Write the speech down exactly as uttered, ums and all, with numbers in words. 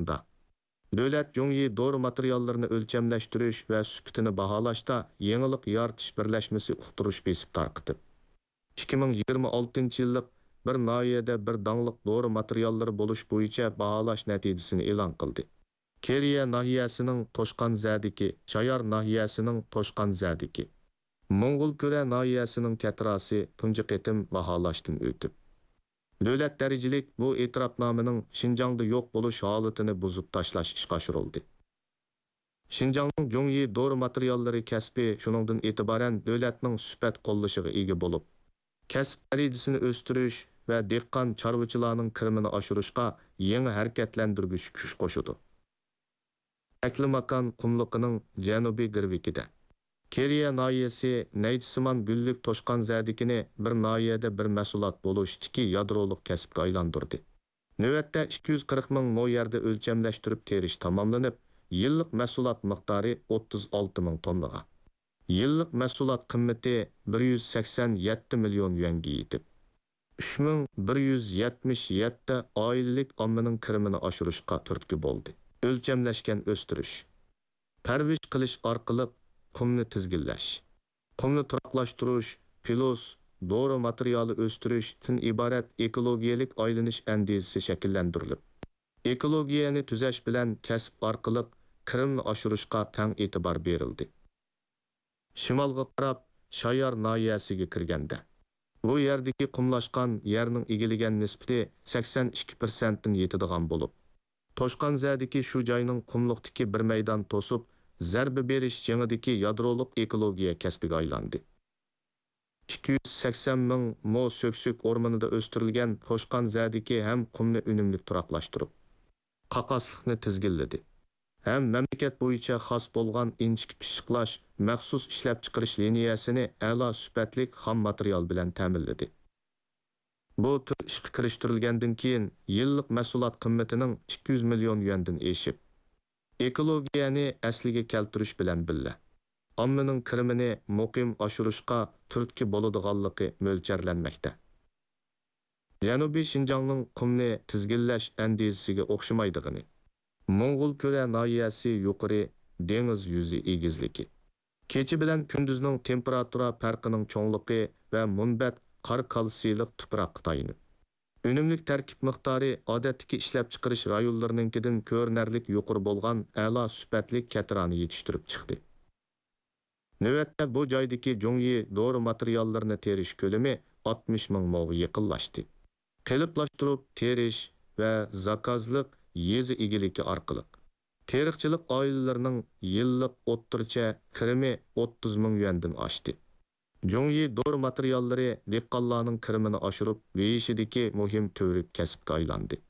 ئالدىدا. دۆلەت جۇڭيى دورا ماتېرىياللىرىنى ئۆلچەملەشتۈرۈش ۋە سۈپىتىنى باھالاشتا يېڭىلىق يارىتىش بىرلەشمىسى ئۇقتۇرۇش بېسىپ تارقىتىپ، ئىككى مىڭ يىگىرمە ئالتىنچى يىللىق بىر ناھىيەدە بىر داڭلىق دورا ماتېرىياللىرى بولۇش بويىچە باھالاش نەتىجىسىنى ئېلان قىلدى. كېرىيە ناھىيەسىنىڭ توشقان زەدىكى، شايار ناھىيەسىنىڭ توشقان زەدىكى، موڭغۇلكۈرە ناھىيەسىنىڭ كەتراسى تۇنجى قېتىم باھالاشتىن ئۆتۈپ، دۆلەت دەرىجىلىك بۇ ئېتىراپنامىنىڭ شىنجاڭدا يوق بولۇش ھالىتىنى بۇزۇپ تاشلاش ئىشقا ئاشۇرۇلدى. شىنجاڭنىڭ جۇڭيى دورا ماتېرىياللىرى كەسپى شۇنىڭدىن ئېتىبارەن دۆلەتنىڭ سۈپەت قوللىشىغا ئىگە بولۇپ، كەسىپ دەرىجىسىنى ئۆستۈرۈش ۋە دېھقان، چارۋىچىلارنىڭ كىرىمىنى ئاشۇرۇشقا يېڭى ھەرىكەتلەندۈرگۈچ كۈچ قوشىدۇ. تەكلىماكان قۇملۇقىنىڭ جەنۇبىي گىرۋىكىدە، كېرىيە ناھىيەسى نەيچىسىمان گۈللۈك توشقان زەدىكىنى بىر ناھىيەدە بىر مەھسۇلات بولۇشتىكى يادرولۇق كەسىپكە ئايلاندۇردى. نۆۋەتتە ئىككى يۈز قىرىق مىڭ مو يەردە ئۆلچەملەشتۈرۈپ تېرىش تاماملىنىپ، يىللىق مەھسۇلات مىقدارى ئوتتۇز ئالتە مىڭ توننىغا، يىللىق مەھسۇلات قىممىتى بىر يۈز سەكسەن يەتتە مىليون يۈەنگە يېتىپ، ئۈچ مىڭ بىر يۈز يەتمىش يەتتە ئائىلىلىك ئاممىنىڭ كىرىمىنى ئاشۇرۇشقا تۈرتكە بولدى. ئۆلچەملەشكەن ئۆستۈرۈش، پەرۋىش قىلىش ئارقىلىق قۇمنى تىزگىنلەش، قۇمنى تۇراقلاشتۇرۇش، پىلوس، دورا ماتېرىيالى ئۆستۈرۈشتىن ئىبارەت ئېكولوگىيەلىك ئايلىنىش ئەندىزىسى شەكىللەندۈرۈلۈپ، ئېكولوگىيەنى تۈزەش بىلەن كەسىپ ئارقىلىق كىرىمنى ئاشۇرۇشقا تەڭ ئېتىبار بېرىلدى. شىمالغا قاراپ شايار ناھىيەسىگە كىرگەندە، بۇ يەردىكى قۇملاشقان يەرنىڭ ئىگىلىگەن نىسبىتى سەكسەن ئىككى پىرسەنتتىن يېتىدىغان بولۇپ، توشقانزەدىكى شۇ جاينىڭ قۇملۇقتىكى بىر مەيدان توسۇپ زەربە بېرىش جېڭىدىكى يادرولۇق ئېكولوگىيە كەسپىگە ئايلاندى. ئىككى يۈز سەكسەن مىڭ مو سۆكسۆك ئورمىنىدا ئۆستۈرۈلگەن توشقانزەدىكى ھەم قۇمنى ئۈنۈملۈك تۇراقلاشتۇرۇپ، قاقاسلىقنى تىزگىنلىدى ھەم مەملىكەت بويىچە خاس بولغان ئىنچىكە پىششىقلاش مەخسۇس ئىشلەپچىقىرىش لىنىيەسىنى ئەلا سۈپەتلىك خام ماتېرىيال بىلەن تەمىنلىدى. بۇ تۈر ئىشقا كىرىشتۈرۈلگەندىن كېيىن، يىللىق مەھسۇلات قىممىتىنىڭ ئىككى يۈز مىليون يۈەندىن ئېشىپ، ئېكولوگىيەنى ئەسلىگە كەلتۈرۈش بىلەن بىللە، ئاممىنىڭ كىرىمىنى مۇقىم ئاشۇرۇشقا تۈرتكە بولىدىغانلىقى مۆلچەرلەنمەكتە. جەنۇبىي شىنجاڭنىڭ قۇمنى تىزگىنلەش ئەندىزىسىگە ئوخشىمايدىغىنى، موڭغۇلكۈرە ناھىيەسى يۇقىرى دېڭىز يۈزى ئېگىزلىكى، كېچە بىلەن كۈندۈزنىڭ تېمپېراتۇرا پەرقىنىڭ چوڭلۇقى ۋە مۇنبەت قار كالتسىيلىق تۇپراققا تايىنىپ، ئۈنۈملۈك تەركىب مىقدارى ئادەتتىكى ئىشلەپچىقىرىش رايونلىرىنىڭكىدىن كۆرۈنەرلىك يۇقىرى بولغان ئەلا سۈپەتلىك كەتىرانى يېتىشتۈرۈپ چىقتى. نۆۋەتتە بۇ جايدىكى جۇڭيى دورا ماتېرىياللىرىنى تېرىش كۆلىمى ئاتمىش مىڭ موغا يېقىنلاشتى. قېلىپلاشتۇرۇپ تېرىش ۋە زاكازلىق يېزا ئىگىلىكى ئارقىلىق تېرىقچىلىق ئائىلىلىرىنىڭ يىللىق ئوتتۇرىچە كىرىمى ئوتتۇز مىڭ يۈەندىن ئاشتى. جۇڭيى دورا ماتېرىياللىرى دېھقانلارنىڭ كىرىمىنى ئاشۇرۇپ بېيىشىدىكى مۇھىم تۈۋرۈك كەسىپكە ئايلاندى.